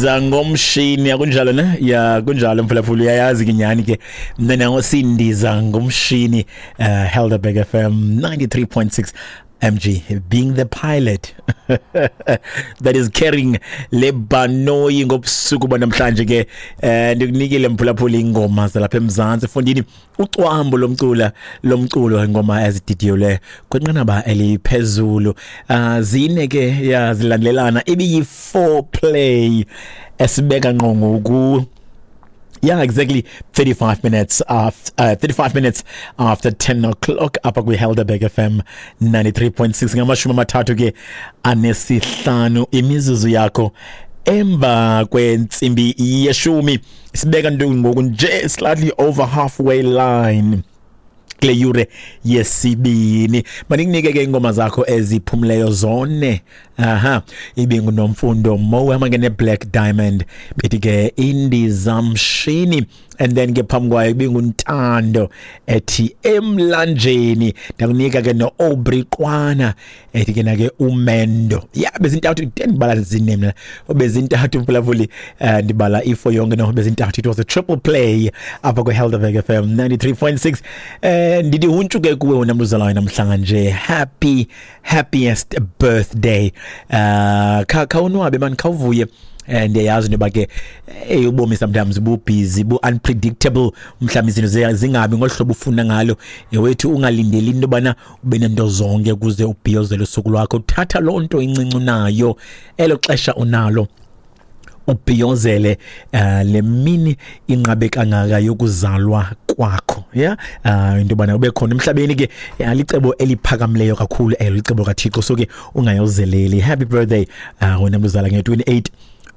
Zangomshini akunjalo ne? Ya, kunjalo mphulaphula, uyayazi ke nyhani ke mna nango sindiza ngomshini. Helderberg FM 93.6, MG being the pilot that is carrying le banoyi ngobusuku banamhlanje ke. Ndikunikile mphulaphula ingoma zalapha eMzantsi fondini, ucwambo lomcula lomculo, ingoma ezididiyelwe kwinqanaba eliphezulu. Zine ke ya zilandelelana, ibiyi foreplay esibeka ngqo ngoku. Yeah, exactly 35 minutes after 35 minutes after 10 o'clock apha kwi-Helderberg FM 93.6, 35 ke imizuzu yakho emva kwentsimbi yeshumi. Sibeka nto ngoku nje slightly over halfway line kule yure yesibini. Mandikunike ke ingoma zakho eziphumleyo zone. Aha, ibinguNomfundo Mo ke ne-Black Diamond, bethi ke Indizamshini, and then ke phambi kwayo ibinguNtando ethi Emlanjeni. Ndakunika ke no-Aubrey Qwana ethi ke nake Umendo. Ya, bezintathu, ndibala zine mna, bezintathu mphulaphuli. Ndibala ifo yonke, no, bezintathu. It was a triple play apha kwi-Helderberg FM 93.6. Ndithi huntshu ke kuwe wena mntu namhlanje. Happy happiest birthday. Khawunwabe man, khawuvuye. Ndiyayazi into yoba ke, hey, ubomi sometimes bu-busy, bu-unpredictable, mhlawumbi izinto zingabi ngolu hlobo ufuna ngalo. Wethu, ungalindeli into yobana ube nento zonke ukuze ubhiyozele usuku lwakho. Thatha loo nto incinci unayo, elo xesha unalo, ubhiyozele le mini inqabe kangaka yokuzalwa kwakho. Yeah, into yobana ube khona emhlabeni ke licebo eliphakamileyo kakhulu elo, licebo kaThixo, so ke ungayozeleli. Happy birthday wena mzala nge-28.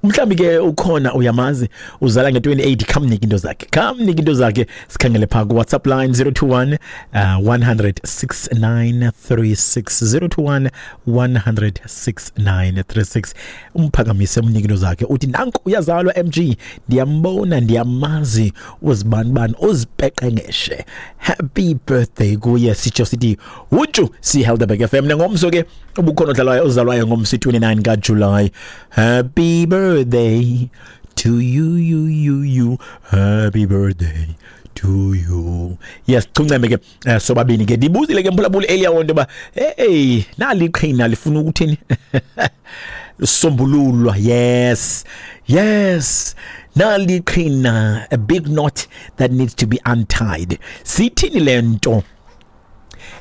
Mhlawumbi ke ukhona uyamazi uzala nge-28, khamnike into zakhe, khamnike into zakhe. Sikhangele phaa ku-WhatsApp line 021 100 6936, 021 100 6936. Umphakamise, umnike into zakhe, uthi nanku uyazalwa MG, ndiyambona, ndiyamazi uzibanibani uzipeqengeshe. Happy birthday kuye, sitsho sithi huntshu si-Helderberg FM. Nangomso ke ubukhona odlalwayo ozalwayo ngomso 29 kaJuly. Happy birthday to you, you, you, you, happy birthday to you. Yes, chunceme ke sobabini ke. Ndibuzile ke mphulaphuli earlier on into yoba hey, nali iqhina lifuna ukuthini sombululwa. Yes, nali iqhina, a big knot that needs to be untied. Sithini le nto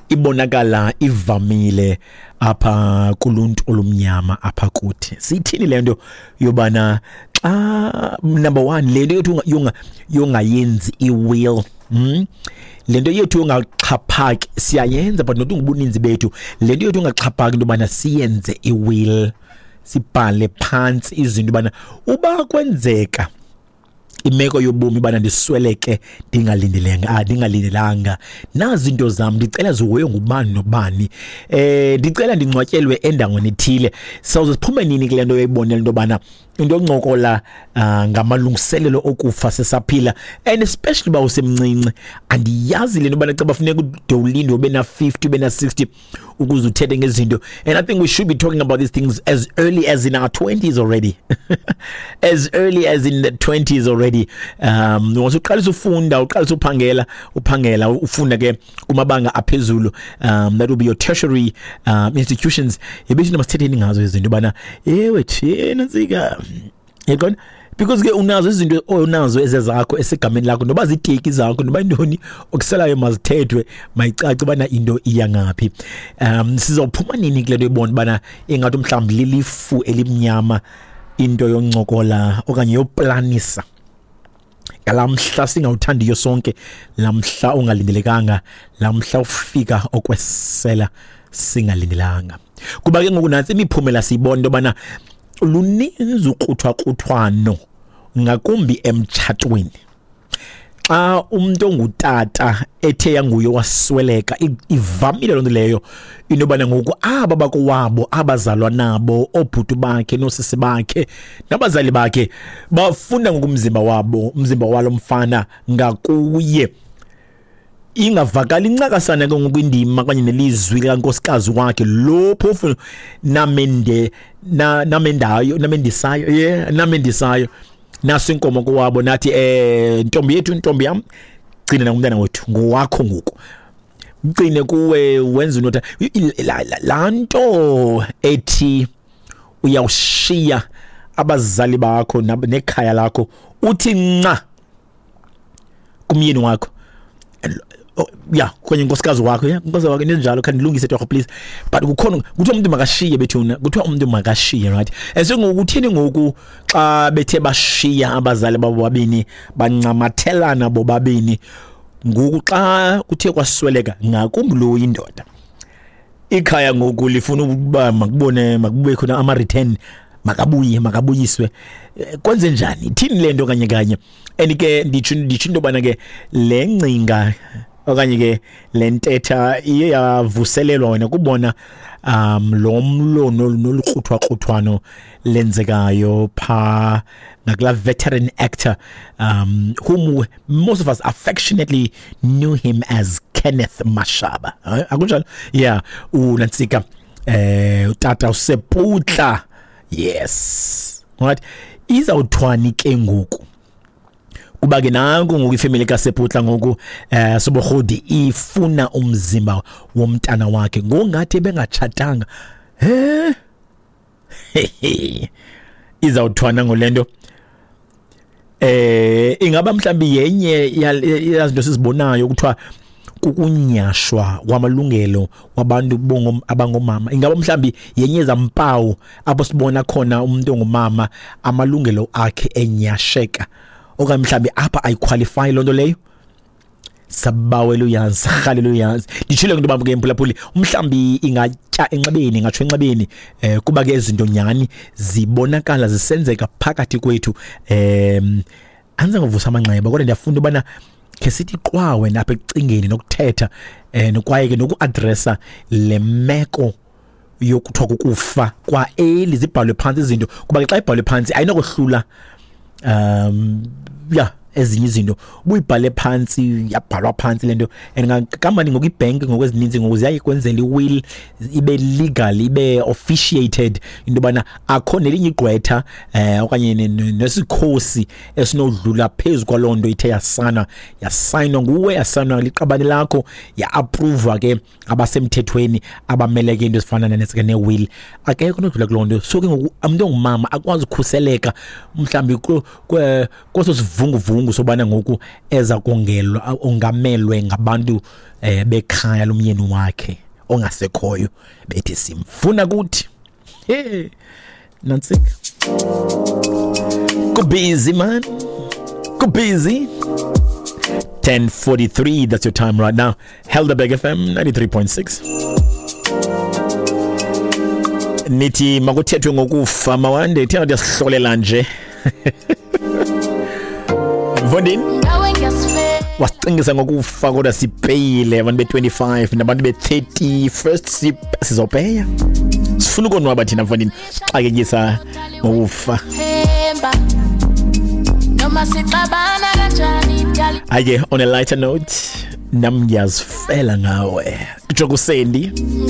ibonakala ivamile apha kuluntu olumnyama apha kuthi? Sithini le nto yobana xa, number one, le nto yethu yongayenzi i-will? Le nto yethu yongaxhaphaki siyayenza, but not ngobuninzi bethu. Le nto yethu yongaxhaphaki into yobana siyenze i-will, sibhale phantsi izinto ubana uba kwenzeka imeko yobomi bana ndisweleke ndingalindelanga, ndingalindelanga, nazi into zam, ndicela zihoywe ngubani nobani, ndicela ndingcwatyelwe endaweni ethile. Sawuze siphume nini kule nto yoyibonela into yobana into yoncokola ngamalungiselelo okufa sisaphila, and especially uba usemncinci? Andiyazi le nto yobana caba funeka ude ulinde ube na-50, ube na-60 ukuze uthethe ngezinto. And I think we should be talking about these things as early as in our 20s already, as early as in the 20s already. Once uqalisa ufunda, uqalisa uphangela, uphangela, ufunda ke kumabanga aphezulu, that will be your tertiary institutions, yebethi masithetheni ngazo izinto bana ewe thina ntsika yaqona, because ke unazo izinto onazo ezezakho esegameni lakho, noba ziteki zakho, noba intoni okuselayo, mazithethwe, mayicace bana into iya ngaphi. Sizawuphuma nini kule nto ibona bana ingathi mhlawumbi lilifu elimnyama into yoncokola okanye yoplanisa ngalamhla singawuthandiyo sonke, lamhla ungalindelekanga, lamhla ufika okwesela singalindelanga? Kuba ke ngoku nantsi imiphumela siyibona into yobana luninzi ukruthwakruthwano, ngakumbi emtshatweni. Xa umuntu ongutata ethe yanguye wasweleka, ivamile loo nto leyo into yobana ngoku aba bakowabo, abazalwa nabo, oobhuti bakhe noosisi bakhe nabazali bakhe, bafuna ngoku umzimba wabo, umzimba walo mfana ngakuye. Ingavakali incakasana ke ngoku indima kanye nelizwi likankosikazi wakhe lo phofu namende namendayo namendisayo, yeah, namendisayo naso inkomo kowabo, nathi ntombi yethu, ntombi yam, gcina nangumntana wethu, ngowakho ngoku, mgcine kuwe, wenza unotha laa nto ethi uyawushiya abazali bakho nekhaya lakho, uthi nca kumyeni wakho, ya, kwenye nkosikazi wakho, ya, nkosikazi wakho ninjalo, khandilungise torho please, but kukhona kuthiwa umuntu makashiye bethuna, kuthiwa umuntu makashiye, right? And so ngoku uthini ngoku xa bethe bashiya abazali babo babini, bancamathelana bobabini, ngoku xa kuthe kwasweleka ngakumbi lo indoda, ikhaya ngoku lifuna ukuba makubone, makube khona ama return, makabuye, makabuyiswe, kwenze njani, ithini le nto kanye kanye? And ke nditsho into yobana ke le ngcinga okanye ke le ntetha iye yavuselelwa wena kubona lo mlo nolukruthwakruthwano lenzekayo pha ngakula veteran actor, whom most of us affectionately knew him as Kenneth Mashaba. Akunjalo? Yeah, unantsika utata uSeputla. Yes. Right. Izawuthwani ke ngoku? Kuba ke nanku ngoku ifamily kaSeputla ngoku Sobohodi ifuna umzimba womntana wakhe ngongathi bengatshatanga. He. Izawuthwana ngolento. Ingaba mhlambi yenye yazinto sizibonayo kuthiwa kukunyashwa kwamalungelo wabantu abangomama, ingaba mhlambi yenye zampawu apho sibona khona umuntu ongumama amalungelo akhe enyasheka, okanye mhlambi apha ayiqualify loo nto leyo? Sabawela uyazi, sarhalela uyazi. Nditshile into yoba ke mphulaphuli, mhlambi ingatya enxebeni, ingatsho enxebeni, kuba ke izinto nyhani zibonakala zisenzeka phakathi kwethu. Andizangovusa amanxeba, kodwa ndiyafunda ubana khe sithi qwa wena apha ekucingeni nokuthetha, kwaye ke nokuadresa le meko yokuthiwa kukufa kwa eli, zibhalwe phantsi izinto, kuba ke xa ibhalwe phantsi ayinokohlula ya ezinye izinto. Ubuyibhale phantsi, yabhalwa phantsi le nto, and kamani ngoku ibhenki ngoku ezininzi ngoku ziyayikwenzela i-will ibe legal, ibe officiated, into yobana akho nelinye igqwetha okanye nesikhosi esinodlula phezu kwaloo nto ithe yasana, yasayinwa nguwe, yasayinwa liqabane lakho, ya-approva ke abasemthethweni abameleke into ezifana ne-will, akekho onodlula kuloo nto. So ke ngoku umntu ongumama akwazi ukhuseleka mhlawumbi kweso sivunguvungu sobana ngoku eza kongelwa, ongamelwe ngabantu bekhaya lomyeni wakhe ongasekhoyo, bethi simfuna kuthi. Hey, nantsika, kubusy man, kubusy. 10:43, that's your time right now. Helderberg FM 93.6. Nithi makuthethwe ngokufa mawande, thina ndiyasihlolela nje. Mfondini, wasicingisa ngokufa kodwa sipeyile abantu be-25 nabantu be-30 first, sizopeya. Sifuna ukonwaba thina mfondini, sixakekisa ngokufa. Hayi ke, on a lighter note, nam ngiyazifela ngawe. Kutsho kuSendi.